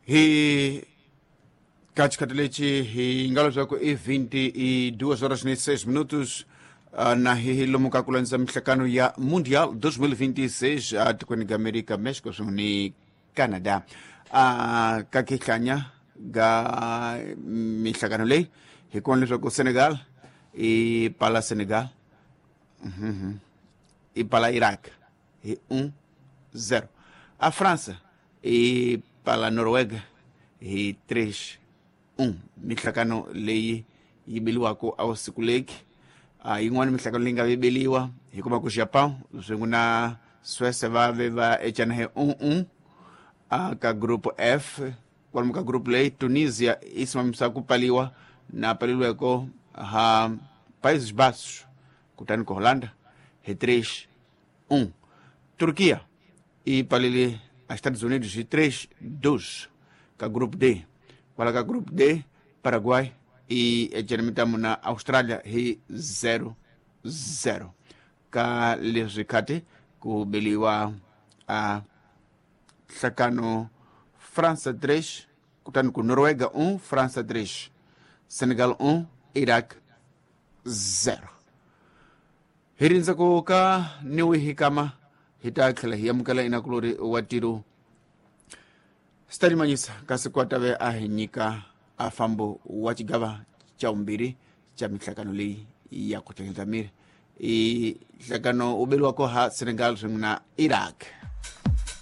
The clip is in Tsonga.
Hi ka xikhathi lexi hi nga leswaku i 22 horas ni 6 minutos, na hi lomu ka ku landza mihlakano ya Mundial 2026 atikweni ga Amerika, Mexico swin'we ni Canada. Ka kihlanya ga mihlakano leyi hi kona leswaku Senegal i pala Senegal i pala Iraq hi 1-0. A França i pala Noruega hi 3-1. Mihlakano leyi yi beliwaka awusiku leki. Yin'wana mihlakano leyi nga vebeliwa hi kuma ku Japão swin'we na Suécia va ve va ecana hi 1-1. Ka group F, kwalomu ka group leyi, Tunisia i simamisa ku paliwa na paleliweko ha Países Baixos, kutani ku Holanda hi 3-1. Turquia i palele a Estados Unidos hi 3-2 ka group D. Kwala ka group D, Paraguay i ecene mitamu na Australia hi 0-0. Ka leswi khati ku beliwa a nhlakano França 3, kutani ku Noruega 1, França 3, Senegal 1, Iraq 0. Hi rindza ku ka niwi hi kama hi ta tlhela hi amukela inakulori wa tiro Stalimanyisa kasi kwatave a hi nyika a fambo wa xigava xa vumbirhi xa mihlakano leyi ya ku tlhelela miri i nhlakano wu beliwako ha Senegal swin'we na Iraq.